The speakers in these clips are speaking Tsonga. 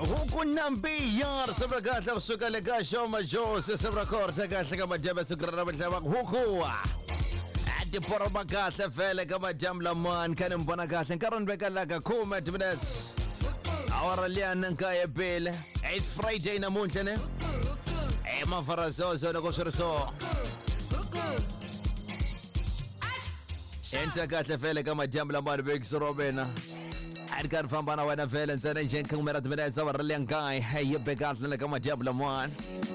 Huku nambiya risimu ra kahle kusuka le ka Xoma Jose risimu ra kona kahle ka madyambu ya siku ra namuntlha va ku huku a tiporoma kahle vhele ka madyambu lamani kha ni mi vona kahle nkarhi ni veka la ka khume minutes awara liyani nkaye pele it's Friday namuntlha ne e mafarazozo loko swi ri so enta kahle vhele ka madyambu lamani vekisi ro mina a ri karhi famba na wena vhele ntsena njhe khume ra timinetse awara liya nkaye yi be kahle le ka madyambu lamani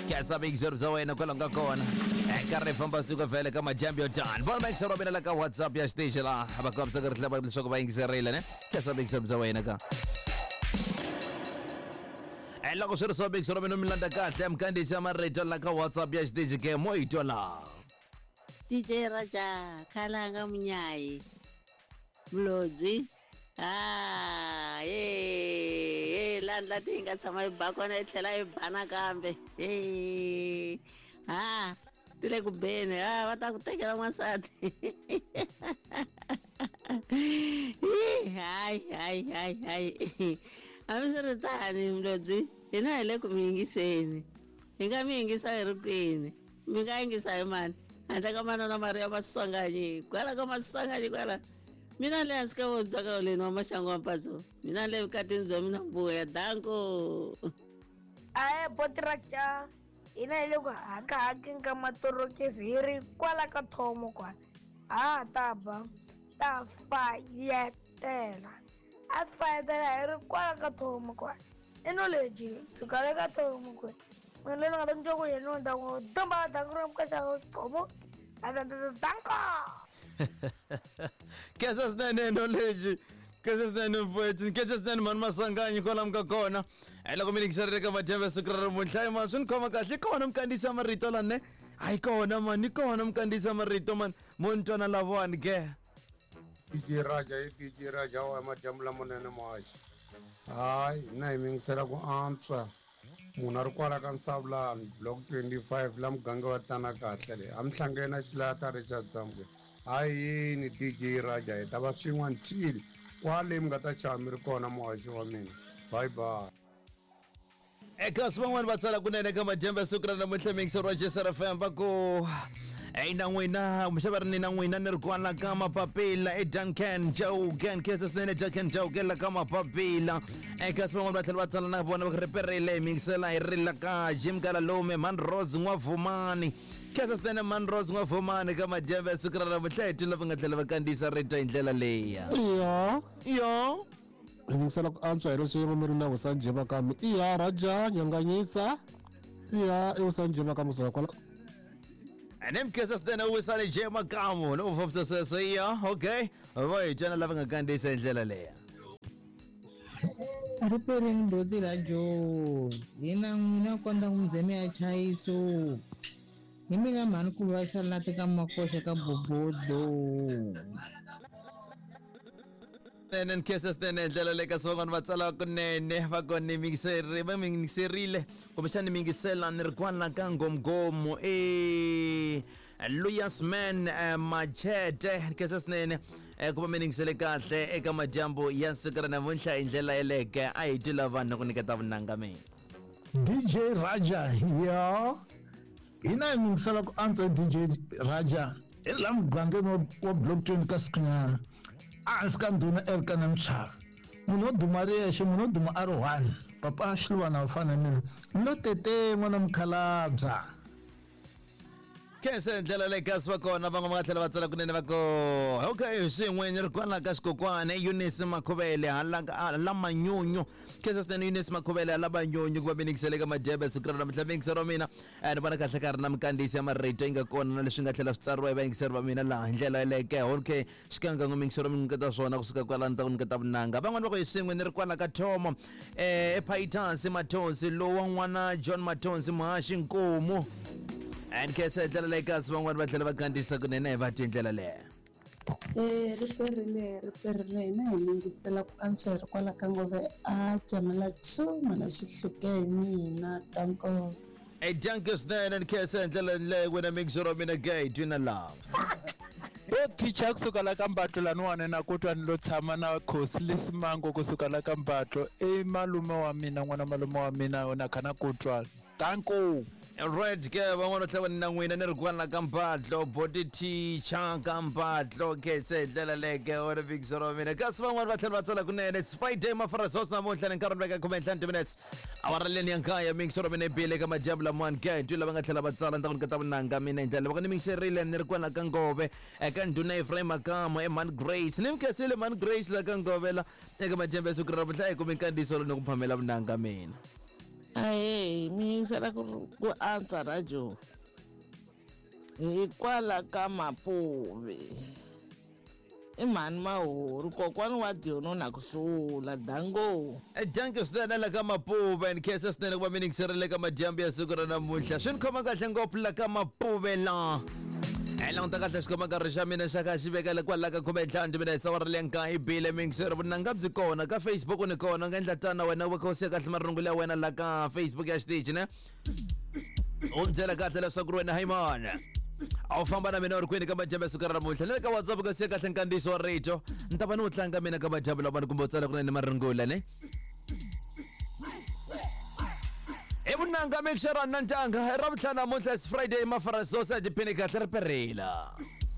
kesa vekisi bya wena kwalaho nga kona karhi famba siku vhele ka madyambu yo tani vona vekisi ro mina la ka WhatsApp ya xitichi laha va kombisa ku ri tlhela leswaku va yingiserile ne kesa vekisi bya wena ka loko swi ri so vekisi ro mina mi landza kahle mukhandziyisi ya marito la ka WhatsApp ya xitichi ke mo yi twa laha. DJ Raja Khalanga Munyayi Mlodzi ha ye landla ti nga tshama yi ba kona yi tlhela yi ba nakambe he ha ti le ku beni ha va ta ku tekela n'wansati hayi hayi hayi hayi hambiswiritani Mlodzi hina hi le ku mi yingiseni hi nga mi yingisa hi ri kwini mi nga yingisa hi mani handle ka manana Mariya Maswanganyi kwala ka Maswanganyi kwala mina le hansi ka vontswaka leni wa maxangu wa mpatso mina le vukatini bya mina mbuya danko. Ahe boti ra ca hina hi le ku hakahakeni ka matorokisi hi ri kwala ka thomo kwala ha ta ba ta fayetela a fayetela hi ri kwala ka thomo kwala i knowledge suka le ka thomo kwala mina loyi ni nga ta ni twa ku yena ni ta ku domba danko ra mukaxa thomo danko. Kesa swinene knowledge kesa swinene mfowethu kesa swinene mhani Maswanganyi kwalamu ka kona loko mi yingiserile ka madyambu ya siku ra namuntlha ma swi ni khoma kahle i kona mukhandziyisi ya marito la ne hayi kona mani i kona mukhandziyisi ya marito mani mo ni twana lavawani ke. DJ Raja i DJ Raja wa madyambu lamanene muhaxi hayi hina hi mi yingisela ku antswa munhu a ri kwala ka Nsavulani block 25 la muganga wa tana kahle le a mi hlangene na Xilata Richard Zambwe hayi yini DJ Raja hi ta va swin'we until kwale mi nga ta xava mi ri kona muhaxi wa mina bye bye. Eka van'wani va tsala kunene ka madyambu ya siku ra namuntlha miyingiseri wa JSR FM va ku eyi na n'wina kumbexana va ri ni na n'wina ni ri kwala ka mapapila eDuncan Jogan kesa swinene Duncan Jogan la ka mapapila eka van'wani va tlhela va tsala na vona va ku riperile hi miyingisela hi ri la ka Jim Galalume Man Rose N'wavumani kesa swinene Man Rose N'wavumani ka madyambu ya siku ra namuntlha hi twile va nga tlhela va kandziyisa rito hi ndlela leyi Iya. Yo Hi yingisela ku antswa hi leswi mi ri na Vusanjhe Makami. Iya Raja Nyanganyisa. Iya i Vusanjhe Makami kusuka kwala. Ne mkesa swinene u wisani J Makamu no fambisa sweswo iya okay va hi twana lava nga kandziyisa hi ndlela leyi. Riperini boti ra Joe hina n'wina kondza n'wi ze mi ya chayiso hi mina mhani ku va xalati ka makoxa ka bobodo. Nene nkhensa swinene hi ndlela leyi kasi van'wana va tsala kunene va ku ni mingiseri va mingiserile kumbexana ni mingisela ni ri kwala ka ngomgomo e Luyas man Machete nkhensa swinene ku va mi ningisele kahle eka madyambu ya siku ra namuntlha hi ndlela yeleke a hi twi lava ni ku nyiketa vunanga mina. DJ Raja yo hina hi mingisela ku antswa DJ Raja hi la mugangeni wa block 20 ka Sikhinyana ehansi ka ndhuna Elkana Mchava munhu wo duma ri yexe munhu wo duma a ri one papa Xiluvana wa fana na mina lo tete n'wana mukhalabya. Khensa hi ndlela leyi kasi va kona van'we va nga tlhela va tsala kunene va ku okay swin'we ni ri kwala ka xikokwani Eunice Makhuvele hala hala Manyunyu khensa swinene Eunice Makhuvele hala Manyunyu ku va mi ningisele ka madyebe siku ra namuntlha miyingiseri wa mina ni vona kahle ka ri na minkandziyiso ya marito yi nga kona na leswi nga tlhela swi tsariwa hi vayingiseri va mina laha hi ndlela yeleyo ke okay xikan'wekan'we miyingiseri wa mi nyiketa swona kusuka kwalano ni ta ku nyiketa vunanga van'wani va ku hi swin'we ni ri kwala ka thomo ephayitasi Mathonsi lowa n'wana John Mathonsi muhaxi nkomu and khensa hi ndlela leyi kasi van'wani va tlhela va kandziyisa kunene hi va twi hi ndlela leyo. Riperile riperile hina hi mingisela ku antswa hi ri kwala ka ngove a jamela two mana xihluke hi mina danko. Hey, dankie swinene ni khensa hi ndlela leyi wena mixer wa mina gay twina love. Bo teacher kusuka la ka Mbatlo laniwani na ku twa ni lo tshama na Khosi Lesimango kusuka la ka Mbatlo i malume wa mina n'wana malume wa mina na kha na ku twa. Danko. Right ke van'wana tlhela na n'wina ni ri kwala ka Mbatlo body teacher ka Mbatlo ke se hi ndlela leke u ri vikisero wa mina kasi van'wana va tlhela va tsala kunene. It's Friday mafarasos namuntlha ni nkarhi ni veka 15 minutes awara leni ya nkaya mingisero mina bile ka madyambu lamawani ke twi lava nga tlhela va tsala ni ta ku nyiketa vunanga mina hi ndlela loko ni mingiserile ni ri kwala ka Ngove eka ndhuna Ephraim Makamo eman Grace ni mi khensile man Grace la ka Ngove la eka madyambu ya siku ra namuntlha hi kumi nkandziyiso lowu ni ku phamela vunanga mina. Ahee, mi yingisela ku antswa radio hikwala ka Mapuve. I mhani Mahori, kokwani wa Diono na ku hlula. Dango. Danko swinene la ka Mapuve ni khensa swinene ku va mi yingiserile ka madyambu ya siku ra namuntlha swi ni khoma kahle ngopfu la ka Mapuve la hi languta kahle xikhoma nkarhi xa mina xa ka xi vekele kwala ka 15 timinetse awara leya nkaye bile miyingiseri vunanga byi kona ka Facebook ni kona u nga endla tana wena u va kha u siya kahle marungula ya wena la ka Facebook ya xitichi ne u ni byela kahle leswaku ri wena haimana a wu famba na mina u ri kwini ka madyambu ya siku ra namuntlha ni le ka WhatsApp ka siya kahle nkandziyiso wa rito ni ta va ni wu tlanga mina ka madyambu lamani kumbe u tsala kunene marungula ne i vunanga mixera na ntanga i ravutlhanu namuntlha is Friday mafarasosa tiphini kahle ri perela.